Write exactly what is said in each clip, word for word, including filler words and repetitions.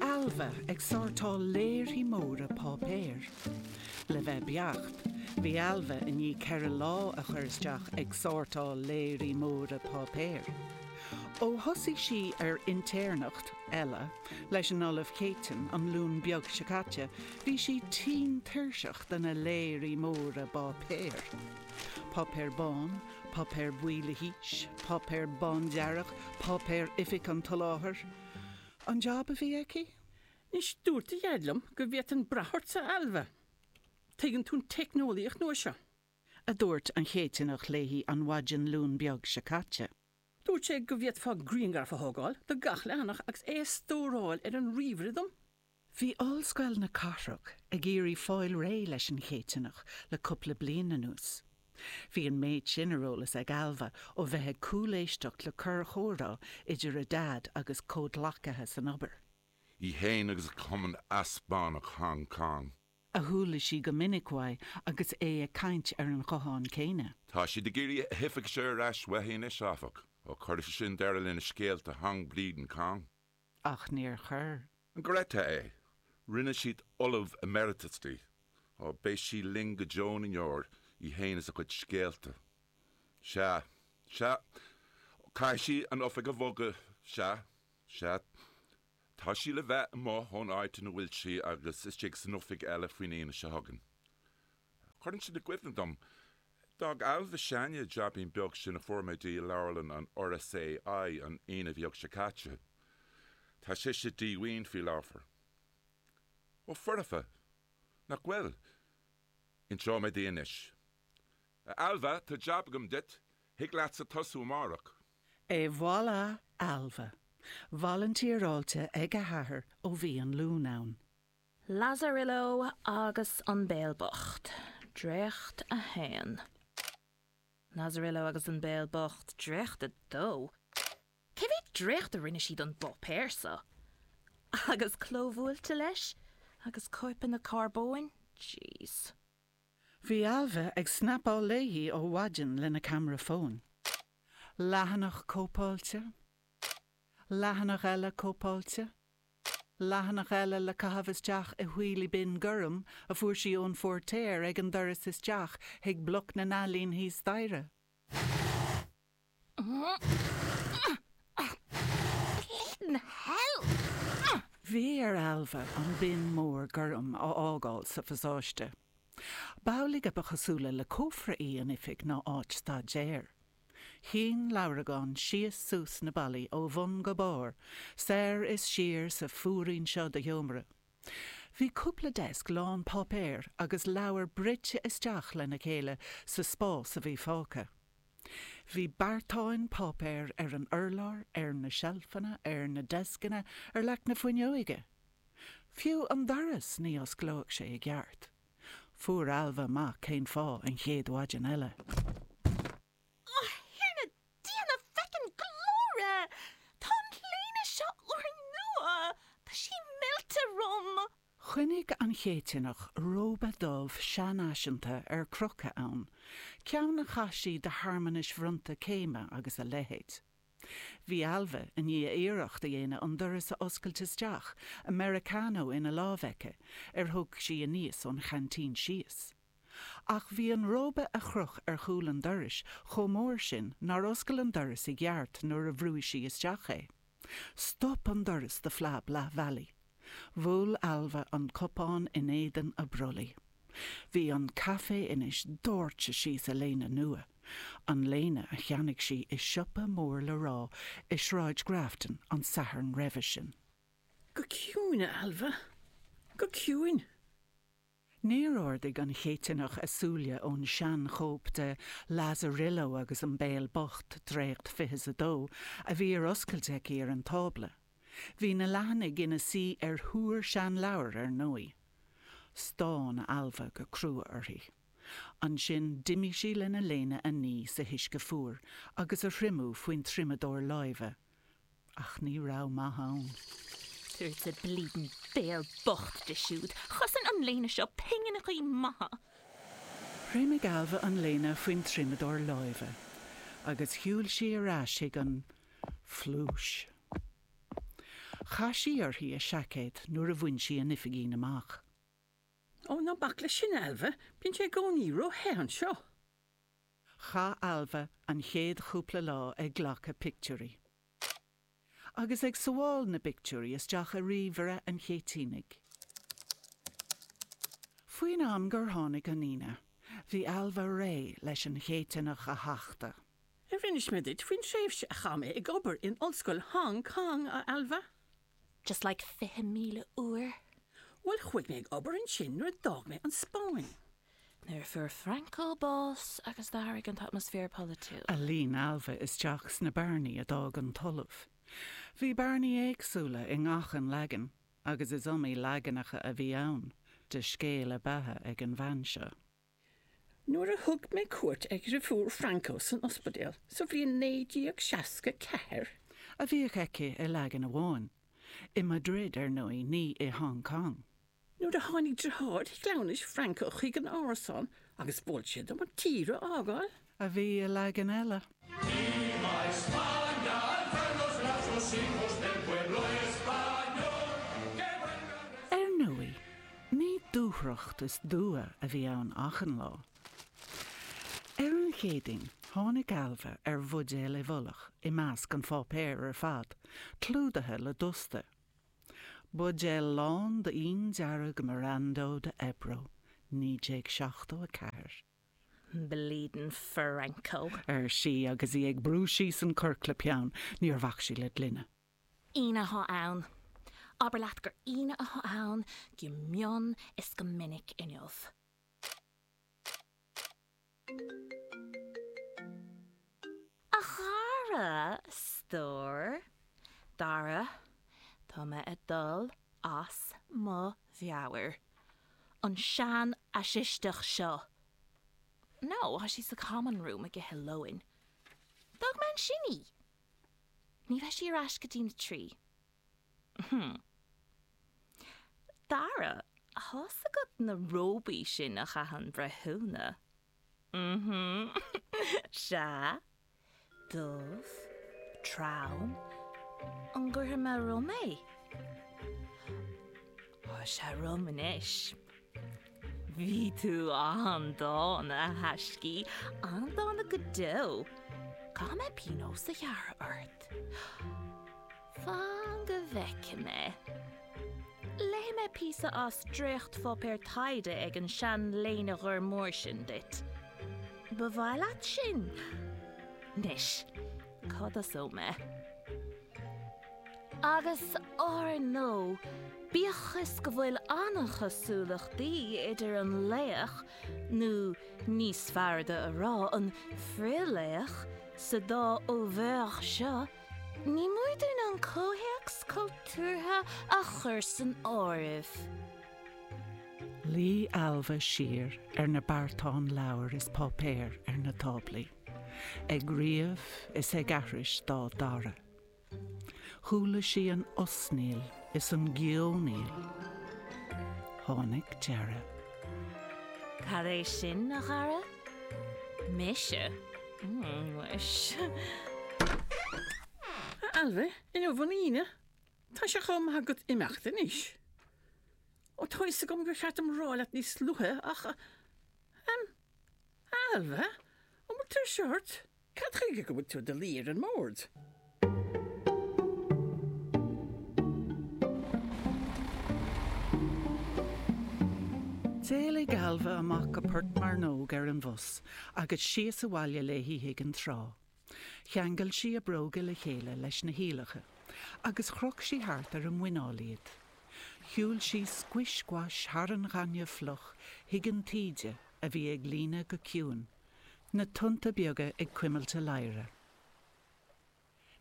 Ailbhe ag sórtáil léirí móra páipéir. Le bheith beacht, bhí Ailbhe i ndiaidh ceithre lá a chur isteach ag sórtáil léirí móra páipéir. Ó thosaigh sí ar intéirneacht eile leis an Ollamh Céitinn an Luan beag seo caite, bhí sí tinn tuirseach de na léirí móra báipéir. Páipéar bán, páipéar buí le haois, páipéar bándearg, páipéar oifig an tsoláthair. An job a bhí aici? Anois dúirt do dhaid liom go bhféadfainn brath ortsa, a Ailbhe. Tuigeann tú an teicneolaíocht nua seo. a dúirt an Céitinneach léi an mhaidin Luan beag seo caite. Dúirt sé go bhféadfá grianghraf a thógáil de gach leathanach agus é a stóráil ar an ríomhaire dom. Bhí Ollscoil na Cathrach ag iarraidh fáil réidh leis an Chéitinneach le cúpla bliain anuas. Bhí an méid sin ar eolas ag Ailbhe ó bheith ag cúléisteacht le corrchomhrá idir a daid agus comhghleacaithe san obair. Í féin agus Cumann Easpánach Hong Kong. A chuala sí go minic uaidh agus é ag caint ar an ghuthán céanna. Tá siad ag iarraidh a hoifig seo ar ais uaithi anois áfach, ó cuirfidh sin deireadh lena scéalta Hong Bleeding Kong. Ach níor chuir. An gcreidfeá é, rinne siad ollamh emeritus di, ó beidh sí linn go deo na ndeor í féin is a cuid scéalta. Sea, sea, caithfidh sí an oifig a bhogadh, sea, sea, tá sí le bheith amuigh ón áit ina bhfuil sí agus istigh san oifig eile faoin Aoine seo chugainn. Cuireann sin i gcuimhne dom, d'fhág Ailbhe s'againne jaibín beag sin a fuair mé di i leabharlann an RSAI an Aoine bheag seo caite. Tá sise díomhaoin faoi láthair. Ó foirfe, nach bhfuil? Inseoidh mé di anois. A Ailbhe, tá jab agam duit, thig leatsa tosú amárach. Et voilà Ailbhe. Volunteeráilte ag a hathair ó bhí an Luan ann. Lazarillo agus an Béal Bocht, Dréacht a haon. Lazarillo agus an Béal Bocht, Dréacht a dó. Cé mhéad dréacht a rinne siad an bpáipéar seo? Agus clóbhuailte leis, agus cóipeanna carbóin? Jeez. Bhí Ailbhe ag snapáil léi ó mhaidin lena ceamara fóin. Leathanach cóipeáilte, leathanach eile cóipeáilte, leathanach eile le caitheamh isteach i wheelie bin gorm a fuair sí ón phóirtéir ag an doras isteach chuig bloc na n-ealaíon thíos staighre. Bleeding hell! Bhí ar Ailbhe an bin mór gorm a fhágáil sa phasáiste. B'amhlaidh a ba chosúla le cófra í an oifig ná áit staidéir. Shín leabhragán síos suas na ballaí ó bhun go barr, soir is siar sa phúirín seo de sheomra. Bhí cúpla deasc lán páipéir agus leabhar bruite isteach lena chéile sa spás a bhí fágtha. Bhí beartáin páipéir ar an urlár, ar na seilfeanna, ar na deascanna, ar leac na fuinneoige. Fiú an doras ní osclódh sé i gceart. Fuair Ailbhe amach cén fáth an chéad mhaidin eile. A Thiarna Dia na feckin glóire! Tá an léine seo úrnua! Tá sí millte orm! Choinnigh an Chéitinneach róba dubh seanfhaiseanta ar crochadh ann, ceann a chaith sí do shearmanais bhronnta céime agus a leithéid. Bhí Ailbhe i ndiaidh iarracht a dhéanamh an doras a oscailt isteach, Americano ina lámh aici, ar thug sí aníos ón cheaintín síos. Ach bhí an róba a chroch ar chúl an dorais chomh mór sin nár oscail an doras i gceart nuair a bhrúigh sí isteach é. Stop an doras de phlab leath bhealaigh. Bhuail Ailbhe an cupán in éadan a brollaigh. Bhí an caife anois doirte síos a léine nua, an léine a cheannaigh sí i siopa mór le rá i Sráid Grafton an Satharn roimhe sin. Go ciúin, a Ailbhe. Go ciúin. Níor ardaigh an Chéitinneach a súile ón seanchóip de Lazarillo agus an Béal Bocht dréacht fiche is a dó a bhí ar oscailt aici ar an tábla. Bhí na leathanaigh ina suí ar thúr seanleabhar ar ndóigh. Stán Ailbhe go crua uirthi. Ansin d'imigh sí lena léine a ní san uisce fuar agus a thriomú faoin triomadóir láimhe. Ach ní raibh maith ann. Tabharsa bleeding béal bocht di siúd, Chosain an léine seo pingineacha maithe. Thriomaigh Ailbhe an léine faoin triomadóir láimhe, agus shiúil sí ar ais chuig an phluais. Chaith sí uirthi a seaicéad nuair a bhain sí an oifigín amach. Ó, ná bac leis sin, a Ailbhe, bíonn sé i gcónaí ró-the anseo. Chaith Ailbhe an chéad chúpla lá ag glacadh pictiúirí. Agus ag sabháil na bpictiúirí isteach i ríomhaire an Chéitínigh. Faoin am gur tháinig an Aoine, bhí Ailbhe réidh leis an Chéitineach a thachtadh. Ar inis mé duit faoin tréimhse a chaith mé ag obair in Ollscoil Hong Kong, a Ailbhe? Just like fiche míle uair. Bhuel, chuaigh mé ag obair ansin nuair a d'fhág mé an Spáinn. Nuair a fuair Franco bás agus d'athraigh an t-atmaisféar polaitiúil. A líon Ailbhe isteach sna bearnaí a d'fhág an tOllamh. Bhí bearnaí éagsúla i ngach aon leagan, agus is iomaí leaganacha a bhí ann, de scéal a beatha ag an bhean seo. Nuair a thug mé cuairt ar dheirfiúr Franco san ospidéal sa bhliain naoi déag seasca ceathair. A bhíodh aici i leagan amháin. I Madrid, ar ndóigh, ní i Hong Kong. Nuair a tháinig deartháir cleamhnais Franco chuig an árasán agus mhol sé dom an tír a fhágáil. A bhí i leagan eile. Ar ndóigh, ní dúthracht is dua a bhí ann achan lá. Ar an Chéadaoin, tháinig Ailbhe ar bhuidéal i bhfolach i measc an pháipéir ar fad, clúdaithe le dusta. Buidéal lán d'fhíon dearg Miranda de Ebro, naoi déag seachtó a ceathair. Bleedin' Franco. Ar sí agus í ag brú síos an corc le peann, níor bhac sí le gloine. Aoine atá ann. Abair leat gur Aoine atá ann go mion is go minic inniu. A chara, a stór. Dara, tá mé ag dul as mo mheabhair. An sean-fhaisisteach seo. No, tá sí sa common room ag ithe lóin. D'fhág mé ansin í. Ní bheidh sí ar ais go dtí na trí. Hmm. Dara, tá's agat na róbaí sin a chaitheann breithiúna? Mhm. Sea. Dubh. Trom. An gcuirfidh mé romham é? Tá sé romham anois. Bhí tú an-dána, a thaiscí, an-dána go deo. Caithfidh mé pionós a ghearradh ort. Fan go bhfeicfidh mé. Léifidh mé píosa as dréachtpháipéar taighde ag an sean-léine ghorm mór sin duit. Ba mhaith leat sin? Anois, cá dtosóidh mé? Agus ár ndóigh, bíodh is go bhfuil an-chosúlachtaí idir an laoch, nó níos fearr a rá, an frith-laoch, sa dá oeuvre seo, ní mór dúinn an comhthéacs cultúrtha a chur san áireamh. Luigh Ailbhe siar ar na beartáin leabhar is páipéar ar na táblaí, ag ríomh is ag aithris dá dara. Chuala sí an osnaíl is an geonaíl. Tháinig deireadh. Cad é sin, a chara? Mise? Muis. A Ailbhe, inniu an Aoine. Tá sé chomh maith agat imeacht anois. Ó, tá fhios agam gur cheart dom rá leat níos luaithe ach, em, a Ailbhe, an bhfuil tuirse ort? Cad chuige go bhfuil tú i do luí ar an mbord? D'éalaigh Ailbhe amach go Port Mearnóg ar an bhus agus síos abhaile léi chuig an trá. Cheangail sí a bróga le chéile leis na hiallacha agus chroch sí thart ar a muineál iad. Shiúil sí scuais scuais thar an ghaineamh fliuch chuig an taoide a bhí ag líonadh go ciúin, na tonnta beaga ag cuimilt a ladhra.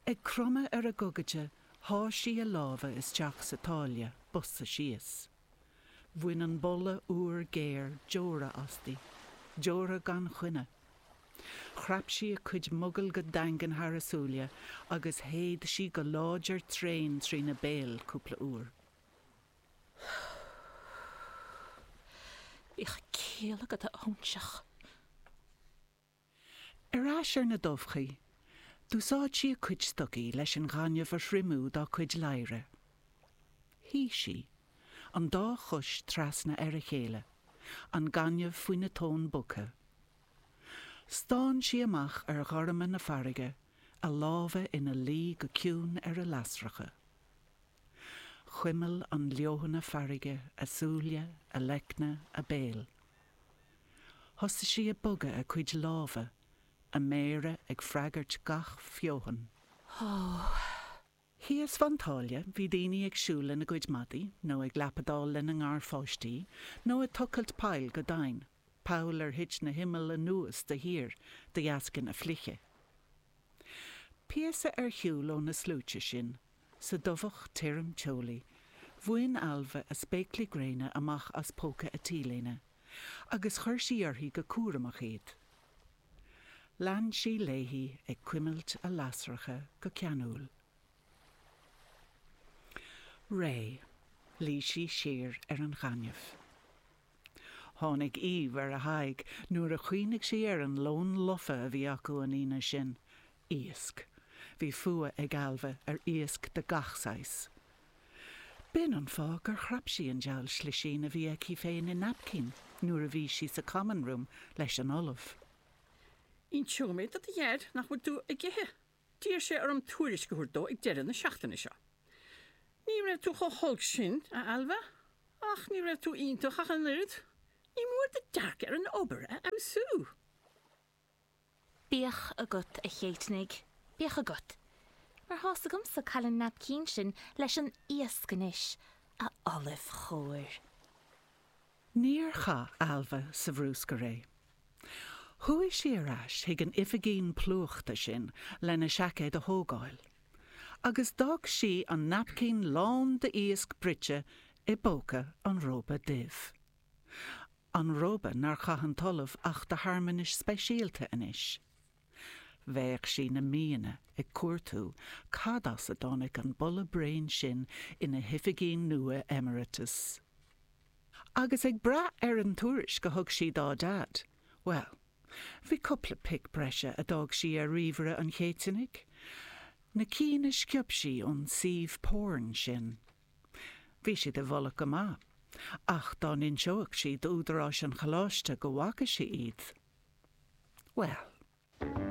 Ag cromadh ar a gogaide, sháigh sí a lámha isteach sa tsáile, bosa síos. Bhain an boladh úr géar deora asti, deora gan choinne. Chrap sí a cuid mogall go daingean thar a súile agus shéid sí go láidir tréan trína béal cúpla uair. Bíodh ciall agat, a óinseach. Ar ais ar na dumhchaí, d'úsáid sí a cuid stocaí leis an ghaineamh a thriomú dá cuid ladhra. Shuigh sí, an dá chois trasna ar a chéile, an gaineamh faoina tóin bogtha. Stán sí amach ar ghorma na farraige, a lámha ina luí go ciúin ar a lasracha. Chuimil an leoithne farraige a súile, a leicne, a béal. Thosaigh sí ag bogadh a cuid lámha, a méara ag freagairt gach feothan. Thíos fán tsáile bhí daoine ag siúl lena gcuid madaí, nó ag lapadáil lena ngarpháistí, nó ag tochailt poill go domhain, poll ar thit na himill anuas de shíor de dheasca na fliche. Píosa ar shiúl ó na sluaite sin, sa dumhach tirim teolaí, bhain Ailbhe a spéaclaí gréine amach as póca a t-léine, agus chuir sí uirthi go cúramach iad. Lean sí léi ag cuimilt a lasracha go ceanúil. Réidh, luigh sí siar ar an ghaineamh. Tháinig aoibh ar a haghaidh nuair a chuimhnigh sí ar an lón lofa a bhí acu an Aoine sin. Iasc. Bhí fuath ag Ailbhe ar iasc de gach saghas. B'in an fáth gur chrap sí an diabhal slisín a bhí aici féin i naipcín nuair a bhí sí sa common room leis an ollamh. Inseoidh mé do do dhaid nach bhfuil tú ag ithe. D'iarr sé orm tuairisc a thabhairt dó ag deireadh na seachtaine seo. Ní raibh tú chomh holc sin, a Ailbhe, ach ní raibh tú iontach ach an oiread. Ní mór do dearcadh ar an obair a fheabhsú. Bíodh agat a Chéitinnigh, bíodh agat. Mar tá's agamsa cá bhfuil an naipcín sin leis an iasc anois, a ollaimh chóir. Níor chaith Ailbhe sa bhruscar é. Chuaigh sí ar ais chuig an oifigín plúchta sin lena seaicéad a thógáil, agus d'fhág sí an naipcín lán d'iasc bruite i bpóca an róba duibh. An róba nár chaith an t-ollamh ach do shearmanais speisialta anois. Bheadh sí na míonna ag cuartú cad as a dtáinig an boladh bréan sin ina hoifigín nua emeritus. Agus ag brath ar an tuairisc a thug sí dá Daid, well, bhí cúpla pic breise a d'fhág sí ar ríomhaire an Chéitinnigh, na cinn a sciob sí ón suíomh porn sin. Bhí siad i bhfolach go maith, ach dá n-inseodh sí d'údaráis an choláiste go bhfaca sí iad. Well,